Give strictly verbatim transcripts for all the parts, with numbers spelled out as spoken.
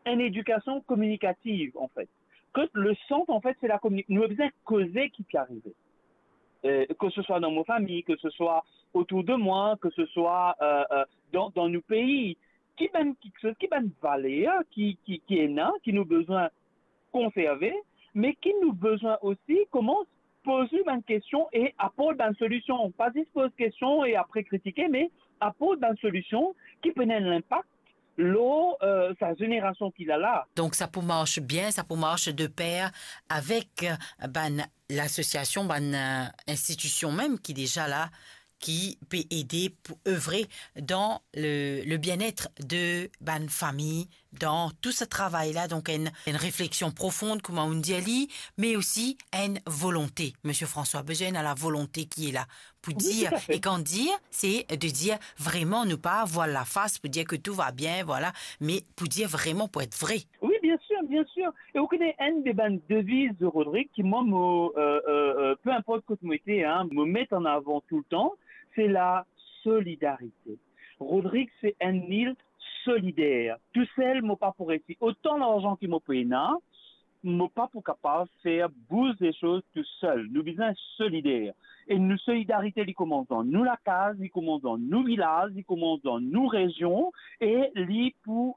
enn edikasion kominikativ, anfet. Kot le sant, anfet, se la komini-, nou bizin koze ki pe arive. Euh, ke se swa dan mo fami, ke se swa otour de mwa, ke se swa, euh, euh, dan, dan nou pei. Ki bann kiksoz, ki bann valer ki, ki, ki ena, ki nou bizin konserve, me ki nou bizin osi koumans poz li bann kestion e aport bann solision. Pa zis poz kestion e apre kritike, me aport bann solision ki pou ena enn linpak lor, euh, sa zenerasion ki la la. Donk, sa pou mars bien, sa pou mars de per avek, euh, bann lasosiasion, bann, euh, institision mem ki deza la, ki pe ede pou evre dan le, le bien-être de bann fami, dan tou sa travay la. Donk, enn, enn refleksion profon, kouma ou'nn dir li, me osi enn volonte. Misie François, bizin ena lavolonte ki la pou dir, e kan dir, se de dir vreman, nou pa vwal lafas pou dir ke tou va bien, vwala, me pou dir vreman, pou et vre. Wi, biensir, biensir. E ou kone enn de bann deviz de Rodrig ki mwa, mo, euh, euh, euh, pe inport kot mo ete, hein, mo met an avan toultan, se la solidarite. Rodrig se enn lil solider. Tousel, mo pa pou resi. Otan larzan ki mo pou ena, mo pa pou kapav fer bouz leshoz tousel. Nou bizin solider. E nou solidarite, li koumans dan nou lakaz, li koumans dan nou vilaz, li koumans dan nou rezion, e li pou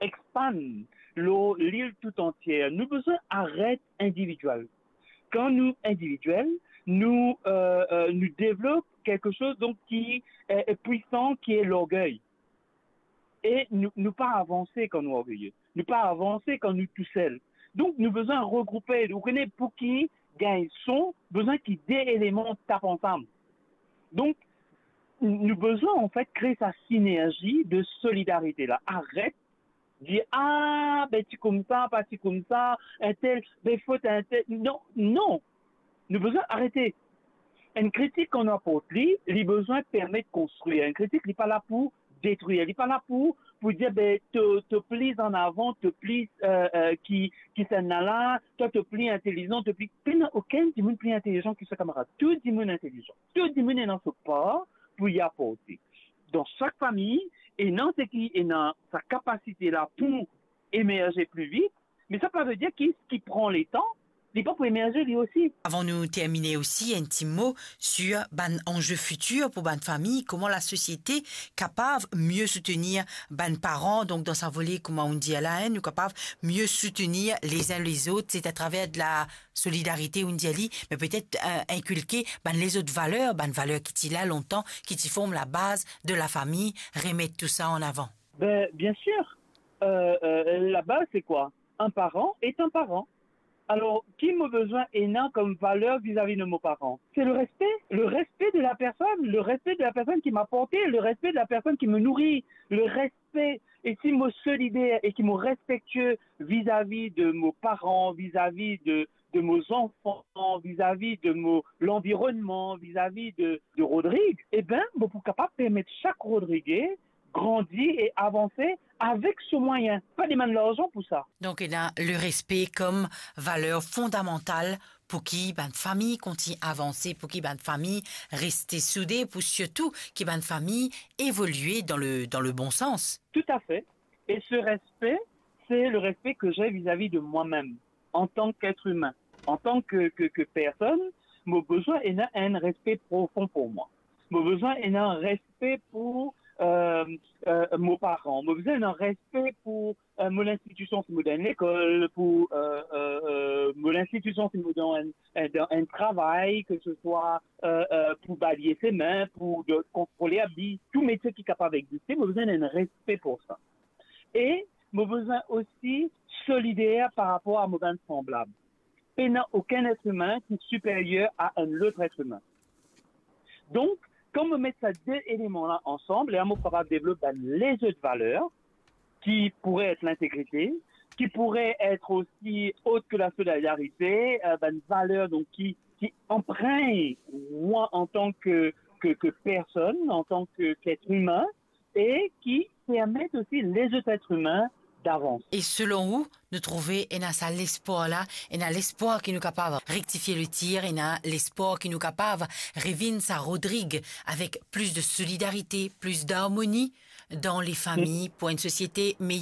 expand lor lil tou antie. Nou bizin aret individiel. Kan nou individiel, nou, euh, euh, nou devlop kiksoz, donk, ki, euh, est puissant, ki est l'orgueil. E nou, nou pa avanse kan nou orgeye. Nou pa avanse kan nou tousel. Donk, nou bizin regroupe. Ou kone pou ki gagn son, bizin ki de eleman tap ansam. Donk, nou bizin, anfet, kre sa sinerzi de solidarite la. Aret dir, "Ah, be, ti koumsa, pa ti koumsa, entel, be, fot entel." Non, non. Nou bizin arete. Enn kritik kan nou aport li, li bizin permet konstrir. Enn kritik, li pa la pou detrir. Li pa la pou, pou dir, be, to, to pli an avan, to pli, euh, euh, ki, ki sa ena la, twa to pli intelizan, to pli, pena okenn dimoun pli intelizan ki so kamarad. Tou dimoun intelizan. Tou dimoun ena so par pou li aporte. Dan sak fami, ena seki ena sa kapasite la pou emerze pli vit, me sa pa ve dir ki, ki pran letan, li pa pou emerze li osi. Avan nou termine osi, enn ti mo sur bann anze fitir pou bann fami, kouma lasosiete kapav mie soutenir bann paran. Donk, dan sa vole, kouma ou'nn dir la, hein, nou kapav mie soutenir les uns les autres, se atraver de la solidarite, ou'nn dir li, me petet, euh, inkilke bann lezot valer, bann valer ki ti la lontan, ki ti form labaz de lafami, remet tou sa an avan. Be, biensir, euh, euh, labaz, se kwa? Un parent est un parent. Alor, ki mo bizin ena kom valer vizavi de mo paran? Se le respe, le respe de la personn, le respe de la personn ki mo aporte, le respe de la personn ki mo nouri, le respe. E si mo solider e ki mo respektie vizavi de mo paran, vizavi de, de mo zanfan, vizavi de mo lanvironnman, vizavi de, de Rodrig, e be, mo pou kapav permet sak Rodrige grandi e avanse avek so mwayin. Pa demann larzan pou sa. Donk, ena le respe kom valer fondamantal pou ki bann fami kontign avanse, pou ki bann fami reste soude, pou sirtou ki bann fami evolie dan le, dan le bon sans. Tout à fait. Et ce respect, c'est le respect que j'ai vis-à-vis de moi-même, en tant qu'être humain. En tant que, que, que personne, mo bizin ena enn respe profon pou mwa. Mo bizin ena respe pou, euh, euh, mo paran. Mo bizin ena respe pou, euh, mo linstitision si mo dan enn lekol, pou, euh, euh, euh, mo linstitision si mo dan enn, enn, dan enn travay, ke se swa, euh, euh, pou balye semin, pou de, kontrole abri, tou metie ki kapav existe, mo bizin ena enn respe pou sa. E mo bizin osi solider par rapor a mo bann sanblab. Pena okenn et imin ki siperyer a enn lot et imin. Donk, kan mo met sa de eleman la ansam, lerla mo kapav devlop bann lezot valer ki pourrait être l'intégrité, ki pourrait être aussi autre que la solidarité, euh, bann valer, donk, ki, ki enpregn mwa an tan ke, ke, ke personn, an tan ke, ke et imin, e ki permet osi lezot et imin davans. E selon ou, nou trouve ena sa lespwar la, ena lespwar ki nou kapav rektifie le tir, ena lespwar ki nou kapav revinn sa Rodrig avek plis de solidarite, plis d'armoni dan lefami, pou enn sosiete meyer.